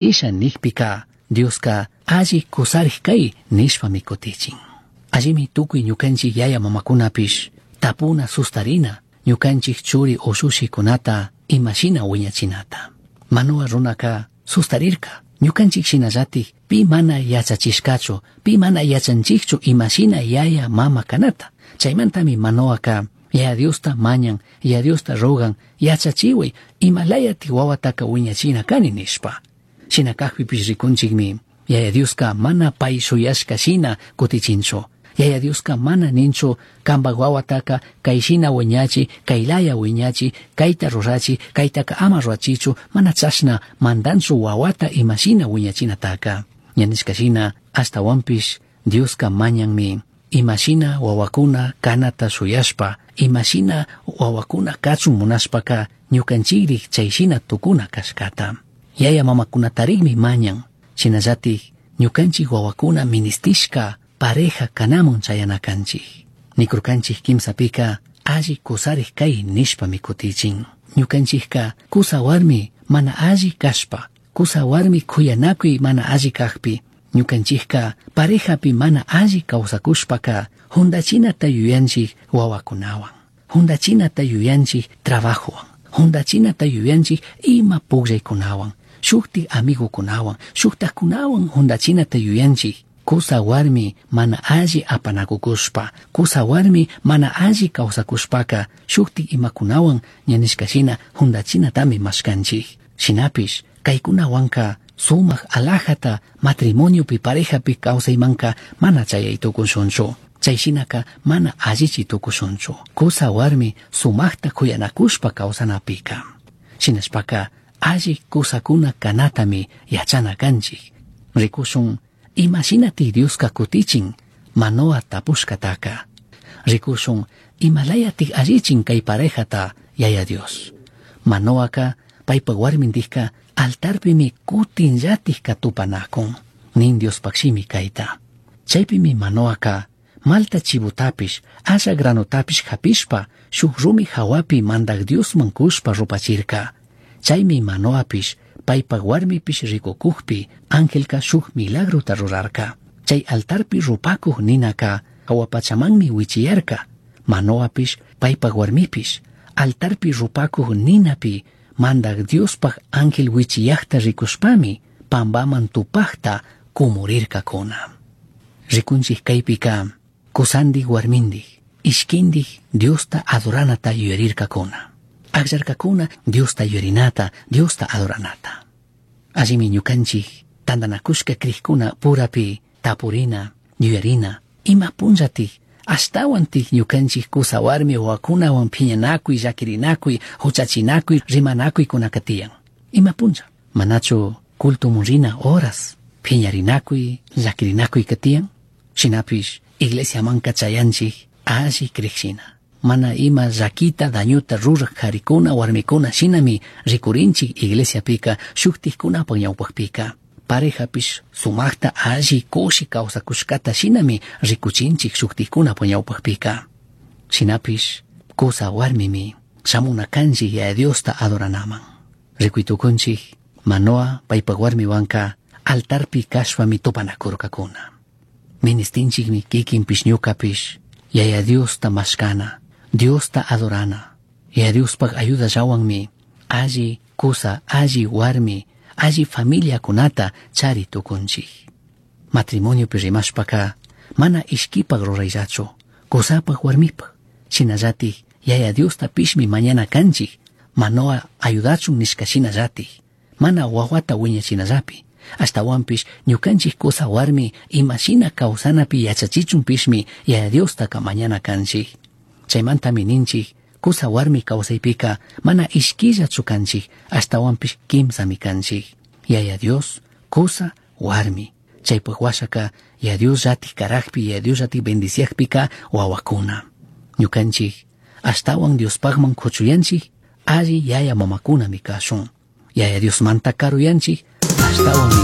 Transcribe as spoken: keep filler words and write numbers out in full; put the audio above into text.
Isha nijpica Dioska alli kusarij kay nishpami kutichin. Allimi tukuy ñukanchik yaya mamakunapish tapuna sustarina ñukanchik churi ushushikunata imashina wiñachinata. Manoa runaka sustarirka ñukanchik shinallatik pi mana yachachishkachu pi mana yachanchikchu imashina yaya mama kanata. Chaymantami Manoaka Yaya Diosta mañan, Yaya Diosta rogan, yachachiway imalayati wawataka wiñachina kani nishpa. Shina kakpipish rikunchikmi Yaya Dioska mana pay shuyashka shina kutichinchu. Yaya Dioska mana ninchu kanpak wawataka kayshina wiñachi, kaylaya wiñachi, kayta rurachi, kaytaka ama rurachichu, mana chashna mandanchu wawata imashina wiñachinataka. Ña nishka shina ashtawanpish Dioska mañanmi imashina wawakuna kanata shuyashpa, imashina wawakuna kachun munashpaka ñukanchikrik chayshina tukuna kashkata. Yaya mamakunatarikmi mañan, shinallatik ñukanchik wawakuna ministishka pareja kanamun chayana kanchik. Nikurkanchik kimsapika alli kusarik kay nishpami kutichin. Ñukanchikka kusa warmi mana alli kashpa, kusa warmi kuyanakuy mana alli kakpi, ñukanchikka parejapi mana alli kawsakushpaka juntachinata yuyanchik wawakunawan, juntachinata yuyanchik trabajowan, juntachinata yuyanchik ima pukllaykunawan, shuktik amigukunawan, shuktakkunawan juntachinata yuyanchik. Kusa warmi mana alli apanakukushpa, kusa warmi mana alli kawsakushpaka shuktik imakunawan ña nishka shina juntachinatami mashkanchik. Shinapish kaykunawanka sumak alajata matrimoniopi parejapi kawsaymanka mana chayay tukushunchu. Chay shinaka mana allichi tukushunchu. Kusa warmi sumakta kuyanakushpa kawsanapika. Shinashpaka alli kusakuna kanatami yachana kanchik. Rikushun imashinati Dioska kutichin Manoa tapushkataka. Rikushun imalayatik allichin kay parejata Yaya Dios. Manoaka paypak warmindikka altarpimi kutinllatik tupanakun. Nin Diospaq shimi kayta. Chaypimi Manoaka malta chivutapish asha granotapish hapishpa shuk rumi hawapi mandak Diosman kushpa rupachirka. Chaymi Manoapish paypak warmipish rikukukpi angelka shuk milagrota rurarka. Chay altarpi rupakuq ninaka hawapachamanmi wichiyarka. Manoapish paypak warmipish altarpi rupakuq ninapi mandak Diospaq ángel wichiyaqta rikushpami pambaman tupaqta kumurirkakuna. Rikunchik kaypika kusandik warmindik ishkindik Diosta adoranata yuyarirkakuna. Akllarkakuna Diosta yuyarinata, Diosta adoranata. Allimi ñukanchik tantanakushka krikuna purapi tapurina, yuyarina, ima punllatik ashtawantik ñukanchik kusa warmi wawakunawan phiñanakuy, llakirinakuy, huchachinakuy, rimanakuykunaka tiyan. Ima punlla, manachu cultomun rina horas phiñarinakuy, llakirinakuyka tiyan? Shinapish iglesiamanka chayanchik alli krikshina. Mana ima llakita dañuta ruraj karikuna warmikuna shinami rikurinchik iglesiapika shuktikkunapak ñawpakpika. Parejapish sumakta alli kushi kawsakushkata shinami rikuchinchik shuktikkunapak ñawpakpika. Shinapish kusa warmimi shamuna kanchik Yaya Diosta adoranaman. Rikuytukunchik Manoa paypak warmiwanka altarpi kashpami tupanakurkakuna. Ministinchikmi kikinpish ñukapish Yaya Diosta mashkana, Diosta adorana. Yaya Diospaq ayudallawanmi alli kusa, alli warmi, alli familiakunata chari tukunchik. Matrimoniopi rimashpaka mana ishkipak rurayllachu, kusapak warmipak. Shinallatik Yaya Diosta pishmi mañana kanchik, Manoa ayudachun nishka shinallatik, mana wawata wiñachinallapi. Ashtawanpish ñukanchik kusa warmi imashina kawsanapi yachachichunpishmi Yaya Diostaka mañana kanchik. Chaymantami ninchik kusa warmi kawsaypika mana ishkillachu kanchik, ashtawanpish kimsami kanchik. Yaya Dios, kusa, warmi. Chaypak washaka Yaya Dios llatik karakpi, Yaya Dios llatik bendiciakpika wawakuna. Ñukanchik ashtawan Diospakman kuchuyanchik, alli yaya mamakunami kashun. Yaya Diosmanta karuyanchik, ashtawanmi